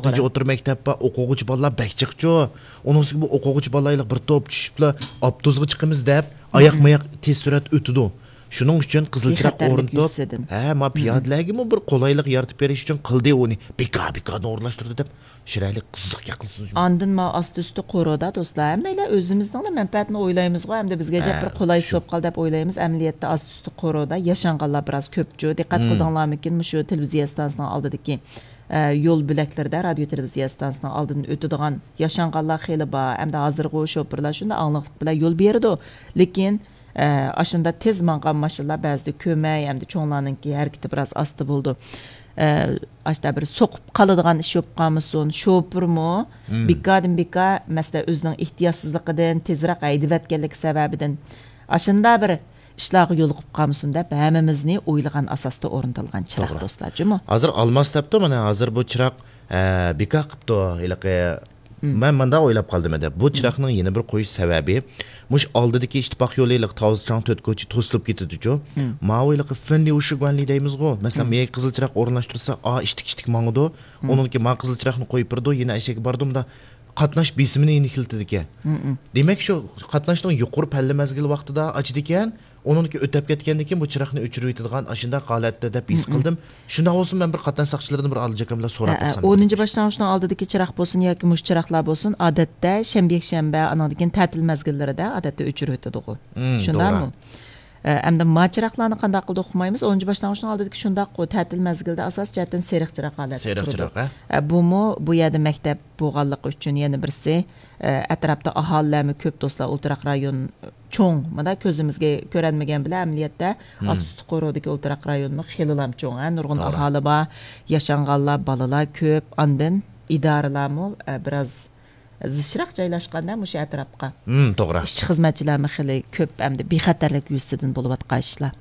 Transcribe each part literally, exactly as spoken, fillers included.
تۆتىنچى ئوتتۇرا مەكتەپ بار، ئوقۇغۇچى بالىلار بەك جىقچۇ. ئۇنىڭ ئۈستىگە بۇ ئوقۇغۇچى بالىلار بىر توپ چۈشۈپلا ئاپتوبۇسقا چىقىمىز دەپ، ئاياق ماياق تېز سۈرئەت ئۆتىدۇ. شۇنىڭ ئۈچۈن قىزىل چىراغ ئورنىتىپ، ھە، ما پىيادىلەرگىمۇ بىر قولايلىق يارىتىپ بېرىش ئۈچۈن قىلدى ئۇنى. بىكار، بىكاردىن ئورۇنلاشتۇردى دەپ، شىرەلىك قىزىق گەپ قىلىسىز. ئاندىن ما ئاستى ئۈستى قورۇدا دوستلار، ھەممەيلەن ئۆزىمىزنىڭلا مەنپەئەتىنى ئويلايمىزغۇ، ئەمدى بىزگە جەپ بىر قولايسىز بولۇپ قالدى دەپ ئويلايمىز. ئەمەلىيەتتە ئاستى ئۈستى قورۇدا ياشانغانلار بىراز كۆپچۇ. دىققەت قىلدىڭلارمىكىن، مۇشۇ تېلېۋىزىيە ئىستانسىسىنىڭ ئالدىدىكى، ئە، يول بۆلەكلىرىدە، رادىيو تېلېۋىزىيە ئىستانسىسىنىڭ ئالدىدىن ئۆتىدىغان ياشانغانلار خېلى بار، ئەمدى ھازىرغۇ شوپۇرلار شۇنداق ئاڭلىقلىق بىلەن يول بېرىدۇ. لېكىن ئە، ئاشۇنداق تېز ماڭغان ماشىنىلار بەزىدە كۆمەي، ئەمدى چوڭلارنىڭكى ھەرىكىتى بىراز ئاستا بولىدۇ. ئە، ئاشتا بىر سوقۇپ قالىدىغان ئىش بولۇپ قالمىسۇن، شوپۇرمۇ بىكاردىن بىكار، مەسىلەن، ئۆزىنىڭ ئېھتىياتسىزلىقىدىن تېزرەك ھەيدىۋەتكەنلىكى سەۋەبىدىن ئاشۇنداق بىر ئىشلارغا يولۇقۇپ قالمىسۇن دەپ، ھەممىمىزنى ئويلىغان ئاساستا ئورنىتىلغان چىراغ، توغرا، دوستلار، جۇمۇ. ھازىر ئالماس دەپتۇ، مانا ھازىر بۇ چىراغ، ئە، بىكار قىپتۇ، ھېلىقى مەن مۇنداق ئويلاپ قالدىم ھەدە. بۇ چىراغنىڭ يەنە بىر قويۇش سەۋەبى، مۇشۇ ئالدىدىكى ئىتتىپاق يولى ھېلىقى تاۋزى چاڭ تۆت كوچا توسۇلۇپ كېتىدىچۇ. ماۋۇ ھېلىقى فېنلى ئۇشۇگۇەنلى دەيمىزغۇ. مەسىلەن، مېيەگە قىزىل چىراغ ئورۇنلاشتۇرسا، ئا ئىشتىك ئىشتىك ماڭىدۇ. ئۇنىڭكى ما قىزىل چىراغنى قويۇپ بېرىدۇ، يەنە ئەشەگە باردۇ، مۇندا قاتناش بېسىمىنى يېنىكلىتىدىكەن. دېمەك، شۇ قاتناشنىڭ يۇقىرى پەللە مەزگىلى ۋاقتىدا ئاچىدىكەن. ئۇنىڭكى ئۆتەپ كەتكەندىن كېيىن بۇ چىراغنى ئۆچۈرۈۋېتىدىغان ئاشۇنداق ھالەتتە دەپ ھېس قىلدىم. شۇنداق بولسا مەن بىر قاتناش ساقچىلىرىدىن بىر ئالىجاكام بىلەن سوراپ باقسام. ئونىنچى باشلانغۇچنىڭ ئالدىدىكى چىراغ بولسۇن ياكى مۇشۇ چىراغلار بولسۇن، ئادەتتە شەنبە، يەكشەنبە، ئانىڭدىن كېيىن تەتىل مەزگىللىرىدە ئادەتتە ئۆچۈرۈۋېتىدىغۇ. شۇنداقمۇ؟ ئە، ئەمدى ما چىراغلارنى قانداق قىلدۇق ئۇقمايمىز. ئونىنچى باشلانغۇچنىڭ ئالدىدىكى شۇنداققۇ، تەتىل مەزگىلدە ئاساسىي جەھەتتىن سېرىق چىراغ ھالەتتە تۇرىدۇ. ئە، بۇمۇ بۇ يەردە مەكتەپ بولغانلىقى ئۈچۈن يەنە بىرسى، ئە، ئەتراپتا ئاھالىلەرمۇ كۆپ دوستلار، ئولتۇراق رايون چوڭ. مانا كۆزىمىزگە كۆرۈنمىگەن بىلەن ئەمەلىيەتتە ئاستى قورۇدىكى ئولتۇراق رايونمۇ خېلىلا چوڭ، ھە، نۇرغۇن ئاھالى بار، ياشانغانلار، بالىلار كۆپ. ئاندىن ئىدارىلارمۇ، ئە، بىراز زىچراق جايلاشقاندا مۇشۇ ئەتراپقا. توغرا. ئىشچى خىزمەتچىلەرمۇ خېلى كۆپ، ئەمدى بىخەتەرلىك يۈزىسىدىن بولۇۋاتقان ئىشلار.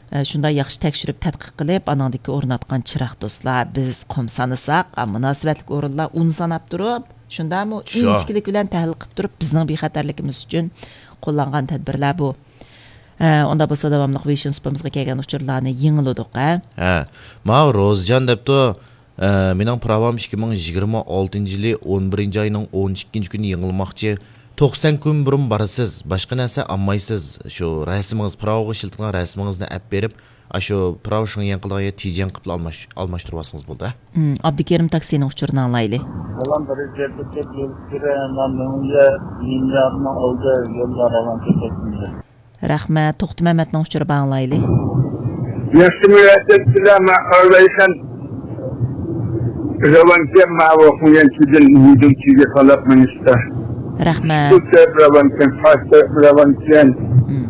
ئە، شۇنداق ياخشى تەكشۈرۈپ تەتقىق قىلىپ، ئانىڭدىكى ئورناتقان چىراغ دوستلار، بىز قۇم سانىساق، ئا، مۇناسىۋەتلىك ئورۇنلار ئۇن ساناپ تۇرۇپ، شۇنداقمۇ؟ شۇ. ئىنچىكىلىك بىلەن تەھلىل قىلىپ تۇرۇپ، بىزنىڭ بىخەتەرلىكىمىز ئۈچۈن قوللانغان تەدبىرلەر بۇ. ئە، ئۇنداق بولسا داۋاملىق ۋىژن سۇپىمىزغا كەلگەن ئۇچۇرلارنى يېڭىلىدۇق، ھە؟ ھە، ماۋۇ روزىجان دەپتۇ، ئە، مېنىڭ پىراۋام ئىككى مىڭ يىگىرمە ئالتىنچى يىلى ئون بىرىنچى ئاينىڭ ئون ئىككىنچى كۈنى يېڭىلماقچى. توقسان كۈن بۇرۇن بارىسىز، باشقا نەرسە ئالمايسىز. شۇ رەسىمىڭىز، پىراۋىغا ئىشلىتىدىغان رەسىمىڭىزنى ئەپ بېرىپ، ئاشۇ پىراۋ شېڭيەن قىلىدىغان يەر تىجيەن قىلىپلا ئالماش-، ئالماشتۇرۇۋالسىڭىز بولدى، ھە؟ ئابدۇكېرىم تاكسىنىڭ ئۇچۇرىنى ئاڭلايلى. سالام، بىرىنچى، بىر يىللارنىڭ ئالدى يوللار ئالان كېتەتتى. رەھمەت. توختى مەمەتنىڭ ئۇچۇرى بار، ئاڭلايلى. ياخشىمۇ ئەتەتتىلە، مەن ئارىلايسەن. رەۋانكەن، ماۋۇ قۇيانچىدىن يۈدۈمچىگە قالاپ مېڭىشتا. رەھمەت. سۇ تەرەپ رەۋانكەن، قاش تەرەپ رەۋانكەن. مم.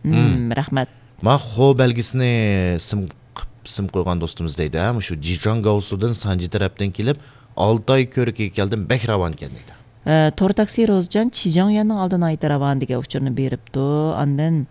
مم، رەھمەت. ما خو بەلگىسىنى سىم قىپ-، سىم قويغان دوستىمىز دەيدۇ، ھە، مۇشۇ جىجاڭ گاۋسۇدىن سانجى تەرەپتىن كېلىپ، ئالتاي كۆرۈكىگە كەلدىم، بەك راۋانكەن دەيدۇ. ئە، تور تاكسى روزىجان چىجاڭيۈەننىڭ ئالدى ناھايىتى راۋان دېگەن ئۇچۇرنى بېرىپتۇ. ئاندىن،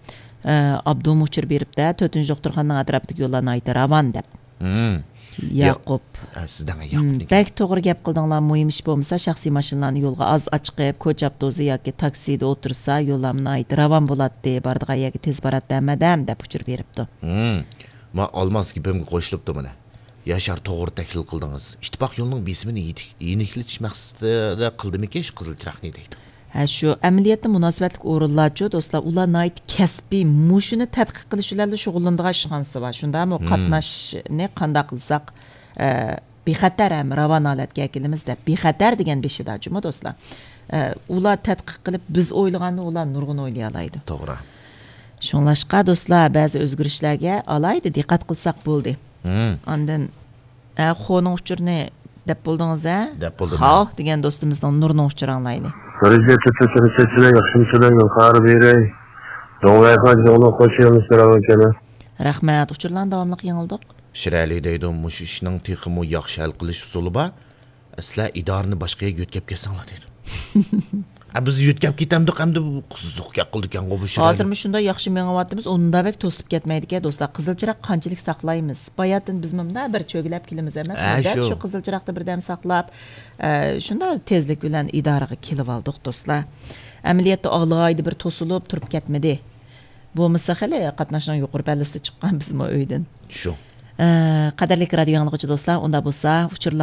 ئە، ئابدۇم ئۇچۇر بېرىپتۇ، تۆتىنچى دوختۇرخانىنىڭ ئەتراپىدىكى يوللار ناھايىتى راۋان دەپ. مم. ياقۇپ. يا-، ئە، سىزدەڭ ياقۇپنىكى. بەك توغرا گەپ قىلدىڭلار، مۇھىم ئىش بولمىسا، شەخسىي ماشىنىلارنى يولغا ئاز ئاچىقىپ، كوچا ئاپتوبۇسى ياكى تاكسىدا ئولتۇرسا، يوللارمۇ ناھايىتى راۋان بولاتتى، بارىدىغان يەرگە تېز باراتتى ھەممە ئادەم، دەپ ئۇچۇر بېرىپتۇ. مم. ما ئالماس گېپىمگە قوشۇلۇپتۇ مانا. ياشار، توغرا تەھلىل قىلدىڭىز. ئىتتىپاق يولىنىڭ بېسىمىنى يېتىك-، يېنىكلىتىش مەقسىتىدە قىلدىمىكىن شۇ قىزىل چىراغنى دەيدۇ. ھە، شۇ ئەمەلىيەتتە مۇناسىۋەتلىك ئورۇنلارچۇ، دوستلار، ئۇلار ناھايىتى كەسپىي، مۇشۇنى تەتقىق قىلىش بىلەنلا شۇغۇللىنىدىغان ئىشخانىسى بار. شۇنداقمۇ؟ مم. قاتناشنى قانداق قىلساق، ئە، بىخەتەر ھەم راۋان ھالەتكە ئەكېلىمىز دەپ، بىخەتەر دېگەن بېشىدا جۇمۇ، دوستلار. ئە، ئۇلار تەتقىق قىلىپ، بىز ئويلىغاننى ئۇلار نۇرغۇن ئويلىيالايدۇ. توغرا. شۇڭلاشقا، دوستلار، بەزى ئۆزگىرىشلەرگە ئالاھىدە دىققەت قىلساق بولدى. مم. ئاندىن، ئە، خونىڭ ئۇچۇرىنى دەپ بولدىڭىز، ھە؟ دەپ بولدۇم، خاۋ دېگەن دوستىمىزنىڭ نۇرنىڭ ئۇچۇرى ئاڭلايلى. دەرىجە، ياخشىمۇسىلەر، يولخار بېرەي. دوڭلايخان، جوڭلۇق، خوش يېڭىلىش، سالام ئەكەلە. رەھمەت، ئۇچۇرلارنى داۋاملىق يېڭىلدۇق. شىرەلى دەيدۇ، مۇشۇ ئىشنىڭ تېخىمۇ ياخشى ھەل قىلىش ئۇسۇلى بار. سىلەر ئىدارىنى باشقا يەرگە يۆتكەپ كەتسەڭلار دەيدۇ. ئە، بىز يۆتكەپ كېتەمدۇق ئەمدى، بۇ قىزىق گەپ قىلىدىكەنغۇ بۇ شىرەلى. ھازىرمۇ شۇنداق ياخشى مېڭىۋاتىمىز، ئۇنداق بەك توسۇلۇپ كەتمەيدىكەن، دوستلار. قىزىل چىراغ قانچىلىك ساقلايمىز؟ باياتىن بىزمۇ مۇنداق بىر چۆگىلەپ كېلىمىز ئەمەسمۇ؟ ھە، دەل شۇ. شۇ قىزىل چىراغدا بىردەم ساقلاپ، ئە، شۇنداق تېزلىك بىلەن ئىدارىگە كېلىۋالدۇق، دوستلار. ئەمەلىيەتتە ئالاھىدە بىر توسۇلۇپ تۇرۇپ كەتمىدى. بولمىسا خېلى قاتناشنىڭ يۇقىرى پەللىسىدە چىققان بىزمۇ ئۆيدىن. شۇ. ئە، قەدىرلىك رادىيو ئاڭلىغۇچى دوستلار، ئۇنداق بولسا ئۇچۇرلار